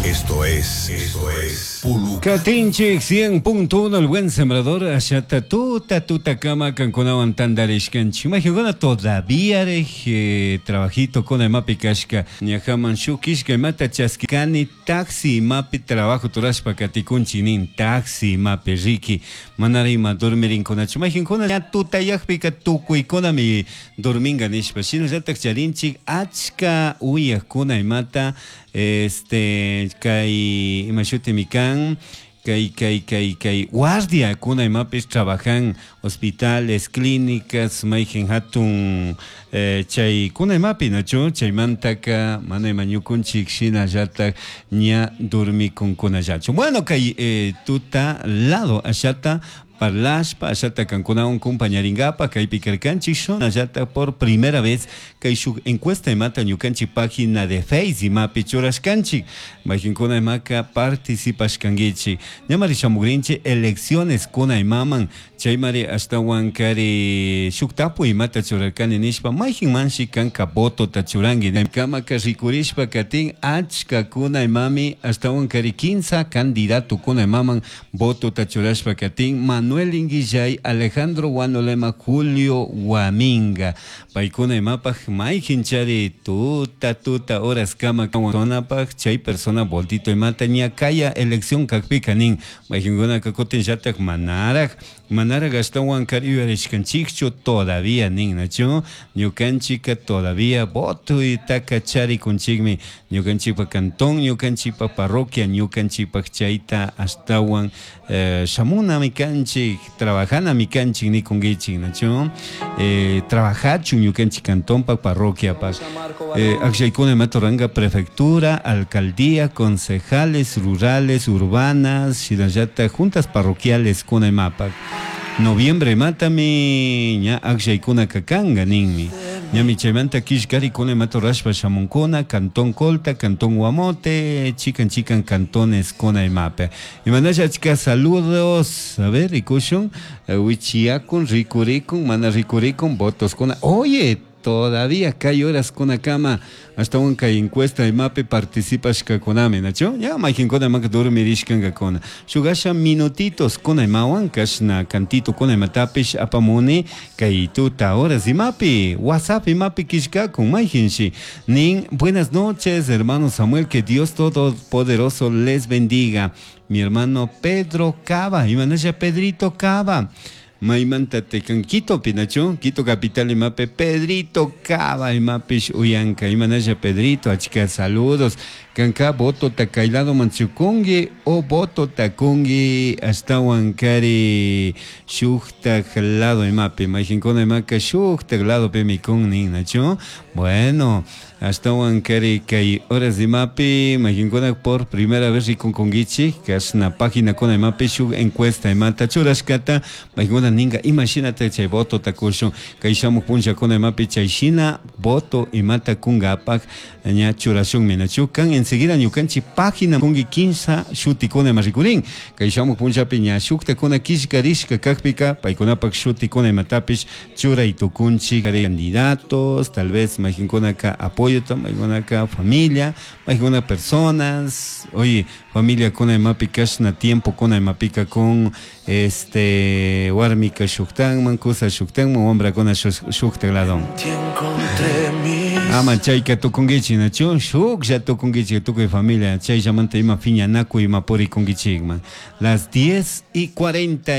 Esto es, esto es Puluca. Katinchik 100.1 El Buen Sembrador ashata tuta tuta kama kankunawan tantarishkanchik. Imagina todavía trabajito con imapi kashka ñajaman shuk kishka imata chaskikani taxi imapi trabajo turashpa katikunchik nin taxi imapi riki manara ima dormirinkunachu mayjinkuna ña tutayakpika tukuykunami dorminga nishpa shinallatak charinchik achka uyakuna imata este kay ima shutimi kan kay kay kay kay guardia kuna imapis trabajan hospitales clínicas mayjin hatun chay kuna imapi nachu chaymantaka mana ima ñukunchik shinallatak ña dormikunkunallachu. Bueno, kay tuta lado ashata parlashpa ashata kankunawan compañaringapa kaypi karkanchik shunallata por primera vez kay shuk encuesta imata ñukanchik página de Face imapi churashkanchik mayjinkuna imaka participashkankichik ñamari shamugrinchik elecciones kuna imaman chaymari ashtawan kari shuk tapuy imata churarkani nishpa mayjinmanshi kanka votota churanki kamaka rikurishpa katin achkakuna imami ashtawan kari kinsa candidato kuna imaman votota churashpa katin Manuel Inguillay, Alejandro Guanolema, Julio Guaminga. Paykuna imapaj mayjinchari tuta tuta horas kama kanapaj chay persona voltito imata ña kaya elección kakpika nin mayjinkuna kutin llatak manaraj manaraj ashtawan kari yuyarishkanchikchu todavía nin nachu ñukanchika todavía voto itaka charikunchikmi ñukanchikpa cantón ñukanchikpa parroquia ñukanchikpa chayta ashtawan shamunami kanchik trabajanami kanchik nikunkichik nachu trabajachun ñukanchik cantonpa parroquiapak akllaykuna imata ruranga prefectura alcaldía concejales rurales urbanas shinallatak juntas parroquiales kuna imapak noviembre matami ña akllaykuna kanka ninmi ñami chaymanta killkarikuna imata rurashpa shamunkuna cantón Colta cantón Guamote chikan chikan cantones kuna imapi imanasha achka saludos a ver rikushun wichiyakun rikurikun mana rikurikun votos kuna oye todavía kay horas kuna kama ashtawan kay encuesta imapi participashkakunami nachu ya mayjinkuna imaka dormirishkankakuna shuk asha minutitos kuna imawan kashna cantito kuna imatapish apamuni kay tuta horas imapi WhatsApp imapi killkakun mayjinshi nin buenas noches hermano Samuel, que Dios Todopoderoso les bendiga. Mi hermano Pedro Cava, imanasha Pedrito Cava maymanta tekan Quito pinachu Quito capital imapi Pedrito Cava imapish uyanka imanasha Pedrito achka saludos kanka voto takaylado manchukungi o voto takungi ashtawan kari shuktak lado imapi mayjinkuna imaka shuktak lado pimi kun nin nachu bueno ashtawan kari kay horas imapi mayjinkuna por primera vez rikunkunkichik kashna página kuna imapi shuk encuesta imata churashkata mayjinkuna ninga imashinata chay voto takushun kay shamuk punllakuna imapi chay shina voto imata kungapak ña churashunmi nachu kan enseguida ñukanchik página kunki kinsa shutikuna ima rikurin kay shamuk punllapi ña shuktakuna killkarishka kakpika paykunapak shutikuna imatapish churay tukunchik candidatos tal vez mayjinkunaka apoyota mayjinkunaka familia mayjinkuna personas oye familia kuna imapi kashna tiempo kuna imapika con este warmika shuktanman kusa shuktanman wambrakuna shuktak ladon ama chayka tukunkichik nachu shuklla tukunkichik tukuy familia chayllamanta ima piñanakuy ima purikunkichikman. Las 10:40.